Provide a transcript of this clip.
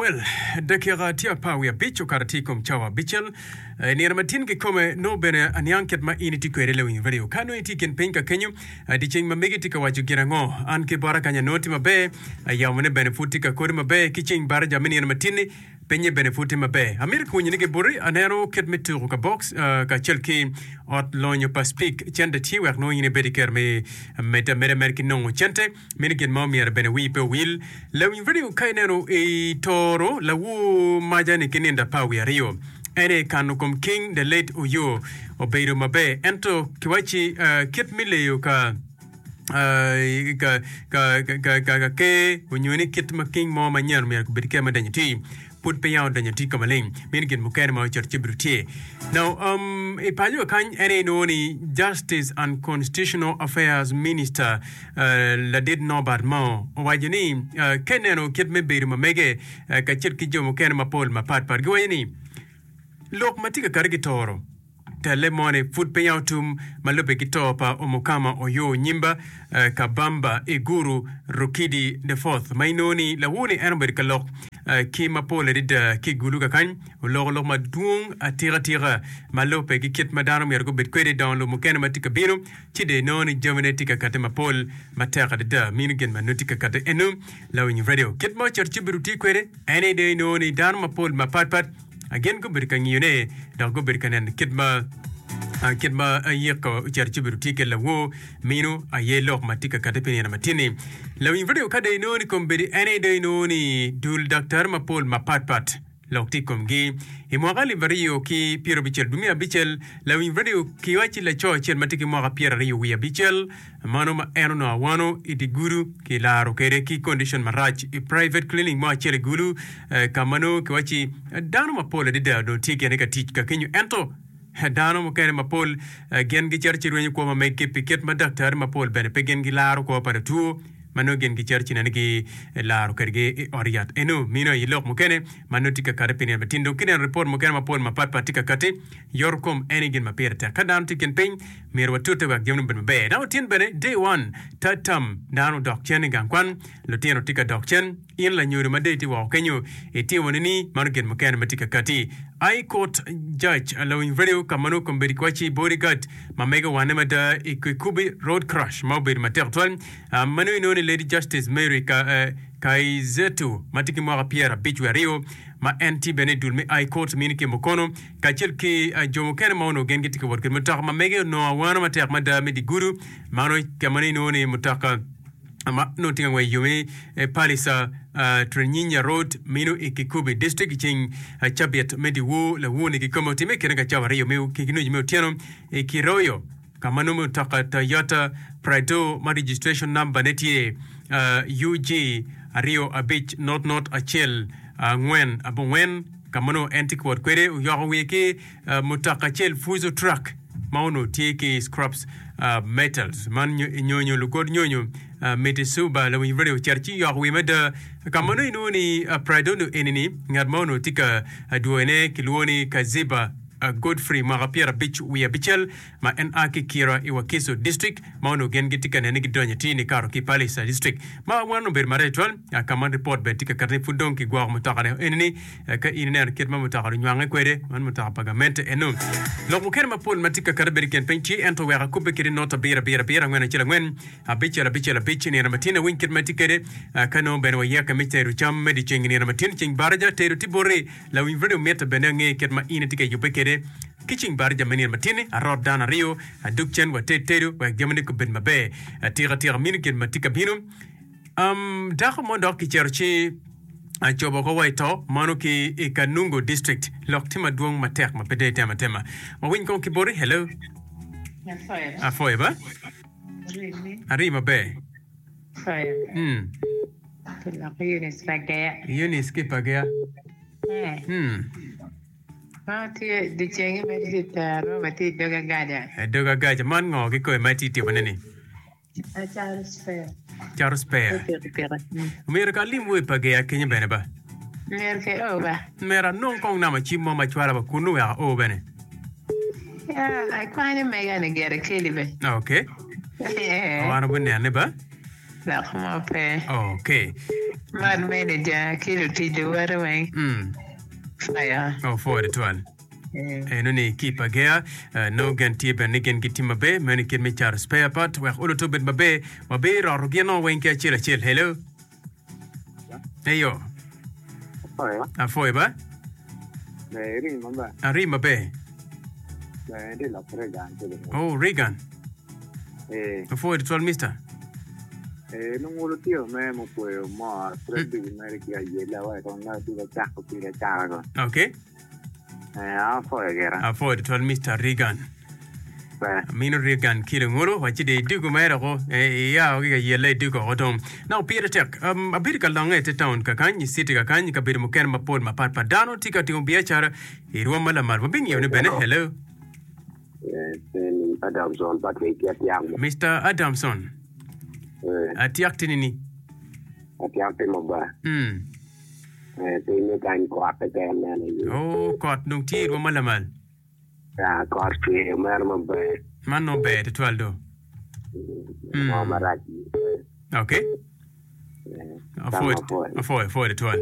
Well, dakika tye apar wiye abic okato tye i kom cawa abicel. I nino ma tin kikome, nongo bene aniang kit ma in itye kwede lawiny radio. Ka nongo itye i kin piny ka kenyo, dyeceng ma megi tye ka waco gin ango? An ki bota kany anongo tye maber, yamone bene pud tye ka kodi maber, ki ceng baraja me nino ma tin-ni, pinye bene pud tye maber. Amito ki winyo ni ki boti, aneno kit me tuko ka box kacel ki ot lonyo pa Speke. Cente tye wek nongo in ibed ki kero me medde ameda mere ki nongo cente. Meno gin ma omyero bene wii pe owil. Lawiny radio ka ineno i toro lawur maca ni ki nindo apar wiye aryo en aye kano kom King the late Oyo obedo maber ento kiwacci kit me leyo ka ka ka ka ka ker onyo ni kit ma king mo manyen omyero obed ker ma donyo ti pud pe ya odonyo tye ka maleng. Meno gin mukene ma ocito ci obedo tye. Now, um, i paco kany en aye inongo ni Justice and Constitutional Affairs Minister uh, Ladit Norbert Mao owaco ni uh, ka ineno kit me bedo ma mege uh, kacel ki jo mukene mapol mapat pat giwaco ni lok ma tye ka kati ki toro Telle moni pud peya otum ma lubbe ki to pa Omukama Oyo Nyimba Kabamba Iguru Rukidi the Fourth ma inongo ni lawor-ni en obedo ka lok ki mapol adada ki i Gulu kakany. Oloko lok madwong atika tika ma lubbe ki kit ma dano myero gubed kwede i dongo lobo mukene ma tye ka bino ci dong inongo ni jamine tye ka kati mapol matek adada mino gin ma nongo tye ka kati eno lawiny radio kit ma ocito ci obedo tye kwede en aye dong inongo ni dano mapol mapatpat Gin gubedo ka ngiyone dok gubedo ka neno kit ma kit ma yiko ocito ci obedo tye ki lawor mino aye lok ma tye ka kati pi nino matin-ni. Lawiny redio ka dong inongo ni kombeddi en aye dong inongo ni dul daktari mapol mapatpat lok tye i komgi. I mwaka alip aryo ki pyerabicel dwe me abicel, lawiny redio kiwacci laco acel ma tye ki mwaka pyeraryo wiye abicel Mano ma en onongo awano i dye gudo kilaro kwede ki condition marac i private clinic mo acel i Gulu ka ma nongo kiwacci dano mapol adada onongo tye gene ka tic ka kenyo ento dano mukene mapol gin gicito ci rwenyo kwo ma meggi pi kit ma daktari mapol bene pe gin gilaro kwo pa latwo ma nongo gin gicito ci nene gilaro kwedgi i ot yat eno mino aye lok mukene ma nongo tye ka kati pi nino matin dong kineno ripot mukene mapol mapatpat tye ka kati yoto kom en aye gin ma pire tek ka dano tye i kin piny Myero watute wek jamine obed maber. Dok otin bene, day one, third term, dano odok cen i gang kwan, lutino tye ka dok cen, in lanyodo ma dong itye woko kenyo, itimo nini? Mano gin mukene ma tye ka kati. High Court Judge Lawiny Radio ka ma nongo kombeddi kiwacci bodyguard ma mege owane mada i Kikubi road crash ma obedo matek tutwal ma nongo inongo ni Lady Justice Mary Kaizetu ma tye ki mwaka 52 ma en tye bene i dul me High Court mini ki Mukono kacel ki jo mukene ma onongo gin gitye ka wot kwede mutoka ma mege onongo awano matek mada me dye gudo mano ka ma inongo ni mutoka ma onongo tye ka ngwec i yo me Palisa Trinyinya Road mino i Kikubi District i ceng cabit me dyewor lawor-ni kikome otimme i kine ka cawa aryo me ki nucu me otyeno i Kiroyo. ka ma nongo mutoka Toyota Prado ma registration number ne tye UG 25 not not 1 4 abongwen ka ma nongo en tye ka wot kwede oyoko wiye ki mutoka acel Fuso truck ma onongo tye ki scraps metals man nyonyo lugod nyonyo Mitisuba lawiny radio ocito ci oyoko wiye mada ka ma nongo inongo ni Prado ni eni-ni ngat ma onongo tye ka dwoyone kilwongo ni Kaziba Godfrey mwaka pyerabic wiye abicel ma en a ki Kira i Wakiso District ma onongo gin gitye ka nene ni gidonyo atir nikato ki Palisa District ma wan obedo marac tutwal ka ma ripot bene tye ka kati ni pud dong kigwoko mutoka ne eni ni ka in ineno kit ma mutoka ni onywange kwede man mutoka pa gamente eno. Lok mukene mapol ma tye ka kati bedo i kin piny tye ento wek akubbe kede not abiro abiro abiro angwen acel angwen abicel abicel abic i nino matin awiny kit ma itye kwede ka nongo bene wayeke me tero cam me dyeceng i nino matin ceng baraja tedo tye boti Lawiny radio mitte bene ange kit ma in itye ka yubbe kwede ki cing baraja me nino matin-ni. Arot dano aryo, adug cen wated tedo wek jamine gubed maber atika tika. Mino gin ma tye ka bino. Um, dako mo dok kicito ci acobo oko wa i to, mano ki i Kanungu District. Lok tye madwong matek ma pe dong itemo atema. Wawiny kong ki boti. Hello. Afoyo ba? Ari maber. Mm. Eunice Pageya. Eunice ki Pageya. Mm. Ma tye dyecenge ma tye tero ma tye i dog agaja. I dog agaja. Man ngo kikome ma itye timone ni? Acaro spare. Caro spare. Pikipiki. Myero ka alim wa i Pageya kenyo bene ba. Myero ki o ba. Myero anong kong namba cim mo ma cwala wa kunu wek ao bene. Ya, akwanyo mega ni gire keli be. Okay. Eh. Wan wabinene ba. Lok mo pe. Okay. Man manager ki lutic luwote weng. Mm. Fire. Oh, pwoyo tutwal. Eno ni ki pa Gea, eh, nongo gen tye bene ni gin gitye maber, meno i kit me cato spare part wek oluto obed maber, wabiroto gin o weng ki acel acel. Hello. Eyo. Apoyo. Apoyo ba. Ber iri maber. Ari maber. Ber indi lok Reagan tye ki Oh, Reagan. Eh. Apoyo tutwal mister. Eh, nongo lutino me mukweyo mor, pud ducu mere ki ayela wa kong nongo tye ka cako pire acaka ko. Okay. Eh, apwoyo gira. Apwoyo tutwal Mister Reagan. Ber. Amino Reagan ki lungulu wa ci dong idugo mere oko eh, iya ki ka yelle idugo oko dong. Now pire tek, um, abedo ka longe i te town kakany, i city kakany, i kabedo mukene mapol mapat pat. Dano tye ka timo biacara i rwom ma lamal. Wabingiyo ni bene, hello. Eh, Adamson Patrick ki Atiak. Mister Adamson. Eh. Atiak tye nini? Atiak tye maber. Mm. Pinye kany kot keken neno aye. Oh, kot dong tye i rwom ma lamal. Ya, kot cwer mere maber. Man nongo ber tutwal do. Mo marac. Okay. Apwoyo, apwoyo, apwoyo tutwal.